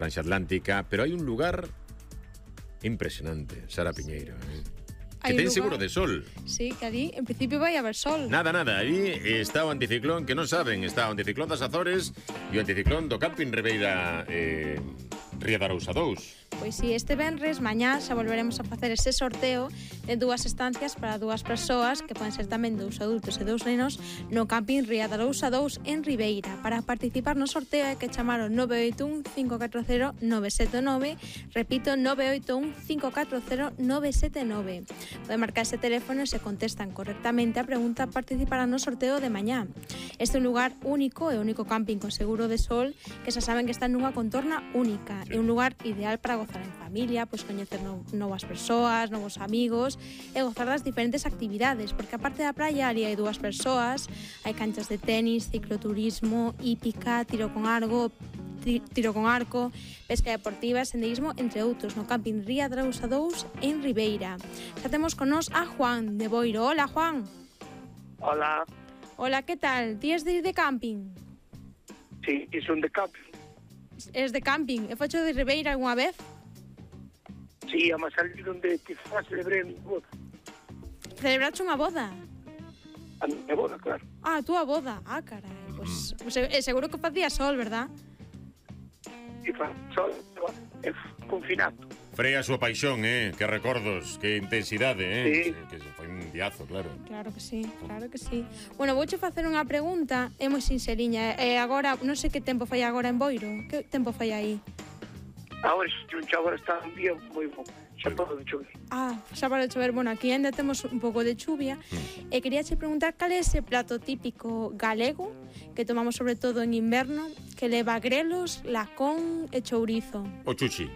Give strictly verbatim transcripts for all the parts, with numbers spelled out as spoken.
Franxa Atlántica, pero hai un lugar impresionante, Sara Piñeiro, eh? Que ten seguro de sol. Sí, que allí en principio vai haber sol. Nada, nada, allí está o anticiclón, que non saben, está o anticiclón das Azores e o anticiclón do Camping Ribeira eh, Ría de Arousa dous. Pois si, este venres, mañá, xa volveremos a facer ese sorteo de dúas estancias para dúas persoas, que poden ser tamén dous adultos e dous nenos, no Camping Ría de Arousa dous en Ribeira. Para participar no sorteo hai que chamar ao nove oito un, cinco catro cero, nove sete nove, repito, nove oito un, cinco catro cero, nove sete nove. Pode marcar ese teléfono e se contestan correctamente a pregunta, participarán no sorteo de mañá. Este é un lugar único, é o único camping con seguro de sol, que xa saben que está nunha contorna única. É un lugar ideal para gozar en familia, pois coñecer no, novas persoas, novos amigos e gozar das diferentes actividades, porque aparte da praia ali hai dúas persoas, hai canchas de tenis, cicloturismo, hípica, tiro con arco, tiro con arco, pesca deportiva, senderismo, entre outros, no Camping Ría de Arousa dous en Ribeira. Xa temos con nos a Juan de Boiro. Hola, Juan. Hola. Hola, que tal? Ti es de ir de camping? Sí, son de camping. Es de camping. E focho de Ribeira algunha vez? Sí, a salir onde quizás celebrei a mi boda. Celebraste unha boda? A mi boda, claro. Ah, a túa boda. Ah, carai. Pois, pues, pues, seguro que facía sol, verdad? E fa sol, é confinado. Freia a súa paixón, eh? Que recordos, que intensidade, eh? Sí. Que foi un diazo, claro. Claro que sí, claro que sí. Bueno, vouche facer unha pregunta, é moi sinceriña. E agora, non sei que tempo fai agora en Boiro. Que tempo fai aí? Agora, agora está un día moi bom. Xa parou de chover. Ah, xa parou de chover. Bueno, aquí ainda temos un pouco de chuvia. Mm. E quería che preguntar cal é ese plato típico galego que tomamos sobre todo en inverno, que leva grelos, lacón e chourizo. O chuchi.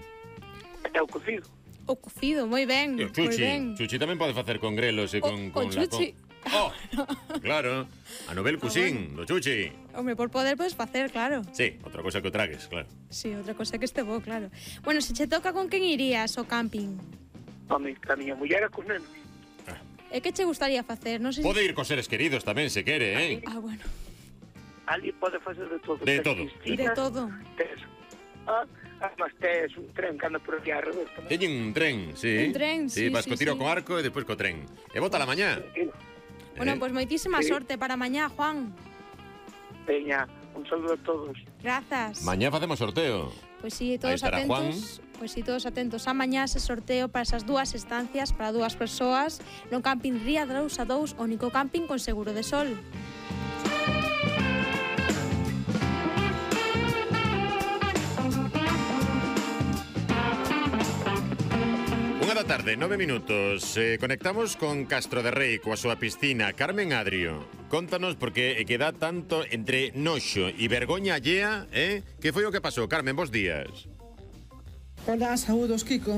É o cocido. O cocido, moi ben. E o chuchi. Chuchi tamén pode facer con grelos e con, o, con o chuchi. lacón. Oh, claro, a novel cuisín, do chuchi. Hombre, por poder podes facer, claro. Sí, outra cosa que o tragues, claro. Sí, outra cosa que este bo, claro. Bueno, se che toca, con quen irías ao camping? Home, a miña muller e cos nenos. Ah. E que che gustaría facer? Non sei pode se... ir cos seres queridos tamén, se quere, eh? Ah, bueno. Ali pode facer de todo. De todo. De todo. Tes, ah, además tes un tren que anda por aquí alrededor tamén. Teñen un tren, sí. Un tren, sí, sí. Vas sí, co tiro sí. con arco e despois co tren. E bota la mañá. Sí. Bueno, eh? pois pues moitísima sí. sorte para mañá, Juan. Veña, un saludo a todos. Grazas. Mañá facemos sorteo. Pois pues sí, todos atentos. Juan. Pois pues sí, todos atentos a mañá ese sorteo para esas dúas estancias para dúas persoas no Camping Ría de Arousa dous, único camping con seguro de sol. Unha da tarde, nove minutos. Eh, conectamos con Castro de Rei, coa súa piscina. Carmen Adrio, contanos porque é que dá tanto entre noxo e vergoña allea, eh? Que foi o que pasou? Carmen, bons días. Hola, saúdos, Kiko.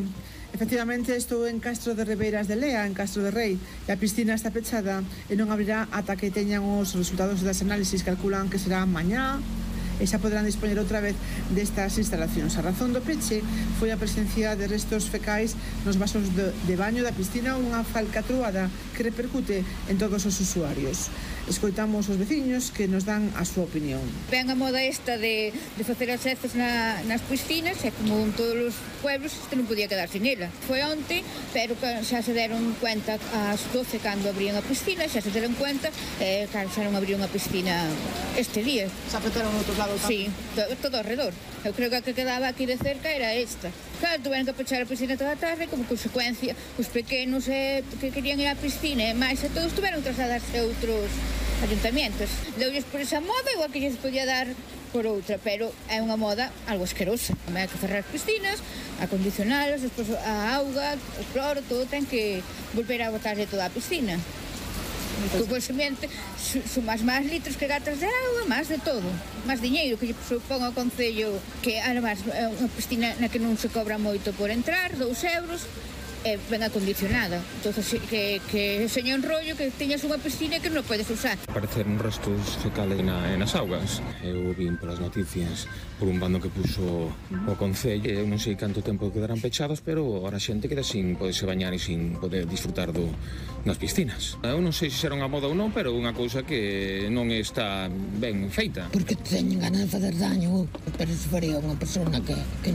Efectivamente, estou en Castro de Ribeiras de Lea, en Castro de Rei, e a piscina está pechada e non abrirá ata que teñan os resultados das análisis. Calculan que será mañá e xa poderán dispoñer outra vez destas instalacións. A razón do peche foi a presencia de restos fecais nos vasos de, de baño da piscina, unha falcatruada que repercute en todos os usuarios. Escoitamos os veciños que nos dan a súa opinión. Ven a moda esta de, de facer as heces na, nas piscinas, e como en todos os pueblos, este non podía quedar sin ela. Foi onte, pero xa se deron cuenta ás doce cando abrían a piscina, xa se deron cuenta, eh, claro, xa non abriu unha piscina este día. Se apretaron outros lados? Sí, todo, todo alrededor. Eu creo que a que quedaba aquí de cerca era esta. Claro, tuveron que pechar a piscina toda a tarde, como consecuencia, os pequenos eh, que querían ir á piscina, e máis e todos tuveron que trasladarse a outros ayuntamientos. Deulles por esa moda, igual que lles podía dar por outra, pero é unha moda algo asquerosa. Hai que cerrar as piscinas, acondicionalas, despois a auga, o cloro, todo ten que volver a botarlle toda a piscina. Consecuentemente, sumas máis litros que gatas de auga, máis de todo, máis diñeiro que lle supón ao Concello, que además é unha piscina na que non se cobra moito por entrar, dous euros, é ben acondicionada. Entonces, que, que seña un rollo que teñas unha piscina que non podes usar. Apareceron restos fecales na, nas augas. Eu vin polas noticias por un bando que puso o Concello. Eu non sei canto tempo quedarán pechados, pero ahora a xente queda sin poderse bañar e sin poder disfrutar do, das piscinas. Eu non sei se será unha moda ou non, pero unha cousa que non está ben feita. Porque teñen ganas de fazer daño, pero se faría unha persona que, que non